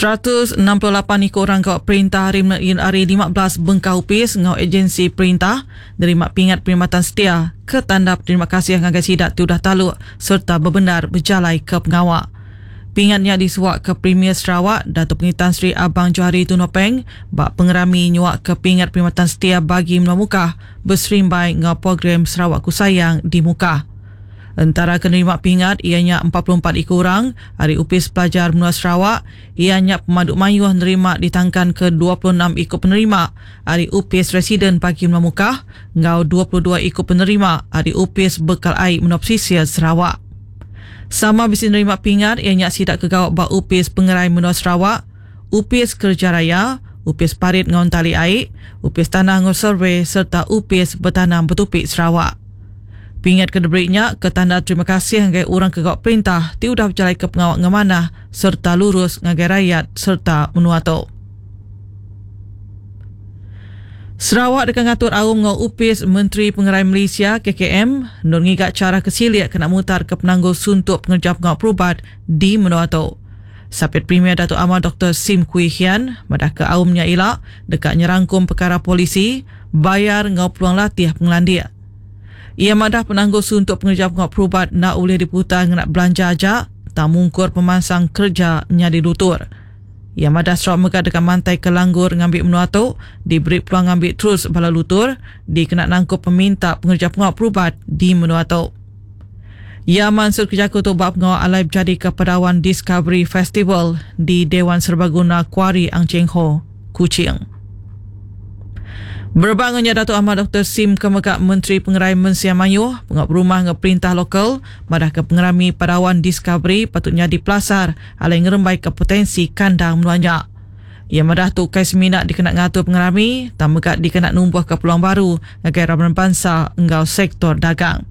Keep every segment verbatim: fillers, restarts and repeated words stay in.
Seratus enam puluh lapan iku orang gawa perintah ari ari lima belas bengkah opis enggau agensi perintah nerima pingat perkhidmatan setia ke tanda terima kasih ngagai sida ti udah taluk serta bebendar bejalai ke pengawa. Pingatnya disuak ke Premier Sarawak Datuk Patinggi Tan Sri Abang Johari Tun Openg ba pengerami nyuak ke pingat perkhidmatan setia bagi Menua Mukah berserimbai enggau program Sarawakku Sayang di Mukah. Entara ke nerima pingat ianya empat puluh empat iku orang ari Opis Pelajar Menua Sarawak, ianya pemadu mayuh nerima ditangkan ke dua puluh enam iku penerima ari Opis Residen Bagi Menua Mukah enggau dua puluh dua iku penerima ari Opis Bekal Ai Menua Pesisir Sarawak. Sama bisi nerima pingat ianya sida ke gawa ba Opis Pengerai Menua Sarawak, Opis Kerja Raya, Opis Parit enggau Entali Ai, Opis Tanah enggau Survey serta Opis Betanam Betupi Sarawak. Pingat ke diberi nya ke tanda terima kasih ngagai orang ke gawa perintah ti udah berjalai ke pengawa ngemanah serta lurus ngagai rakyat serta menua tu. Sarawak deka ngatur aum enggau Opis Menteri Pengerai Malaysia K K M nur ngiga cara kesilik kena mutar ke penanggul suntuk pengerja pengawa perubat di menua tu. Sapit Premier Datuk Amar Doktor Sim Kui Hian madah ke aumnya ila deka nyerangkum perkara polisi, bayar enggau peluang latih pengelandik. Ia madah penanggul suntuk pengerja pengawa perubat nak boleh diputar ngena belanja aja, tak mungkur pemansang kerja nyadi lutur. Ia madah Sarawak mega dekat mantai ke langgur ngambil menua tu, diberi peluang ngambil terus bala lutur, dikena nangkup peminta pengerja pengawa perubat di menua tu. Ia mansur kerja tu bab pengawa alai berjadi ke Padawan Discovery Festival di Dewan Serbaguna Kuari Ang Cheng Ho, Kuching. Berbangunnya Datuk Ahmad Doktor Sim Kemegak Menteri Pengerai Mensia Mayuh, Pengap Rumah nge Perintah Lokal, madah ke pengerami Padawan Discovery patutnya dipelasar alai ngerembai ke potensi kandang menuanya. Ia madah tu kai semina dikena ngatur pengerami, tak megak dikena numbuh ke peluang baru ngagai raban bangsa enggau sektor dagang.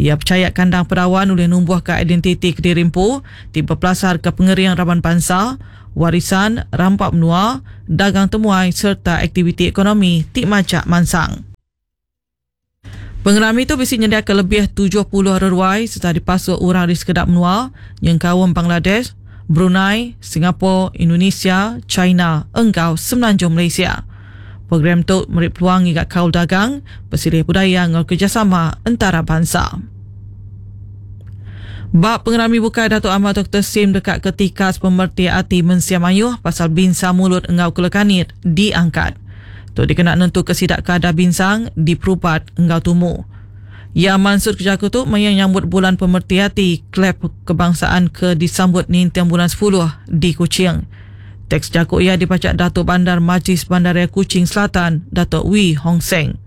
Ia percaya kandang Padawan oleh numbuh ke identiti kedirimpu, ti berpelasar ke pengering raban bangsa, warisan, rampak menua, dagang temuai serta aktiviti ekonomi ti macak mansang. Pengerami itu bisi nyediakan lebih tujuh puluh reruai serta dipasuk orang di sekedap menua, nyengkaum Bangladesh, Brunei, Singapura, Indonesia, China, engkau Semenanjung Malaysia. Program tu meri peluang ngiga kaul dagang, bersilih budaya enggau kerjasama antara bangsa. Bab pengerami bukai Datuk Amar Doktor Sim dekat ketika pemerti ati mensia mayuh pasal binsang mulut engau kelekanit diangkat. Tu dikena nentu kesidak kadar binsang diperubat engau tumu. Ya mansur kerja tu mayang nyambut bulan pemerti ati klep kebangsaan ke disambut nintiang bulan sepuluh di Kuching. Teks jakuk ia dibaca Datuk Bandar Majlis Bandaraya Kuching Selatan, Datuk Wee Hong Seng.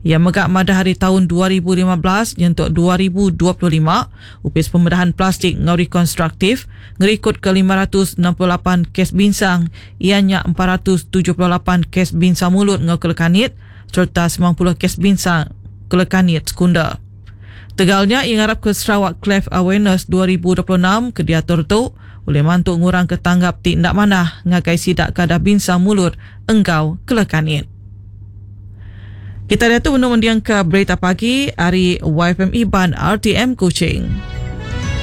Ia megak madah hari tahun dua ribu lima belas nyentuk dua ribu dua puluh lima, upis pembedahan plastik ngau rekonstruktif ngerikut ke lima ratus enam puluh lapan kes binsang, ianya empat ratus tujuh puluh lapan kes binsang mulut ngau kelekanit serta sembilan puluh kes binsang kelekanit sekunda. Tegalnya ia ngarap ke Sarawak Cleft Awareness dua ribu dua puluh enam ke diatur tu oleh mantu ngurang ke tanggap ti ndak manah ngagai sidak kadar binsang mulut engkau kelekanit. Kita dah tu menung mendiang ke berita pagi hari Y F M Iban R T M Kuching.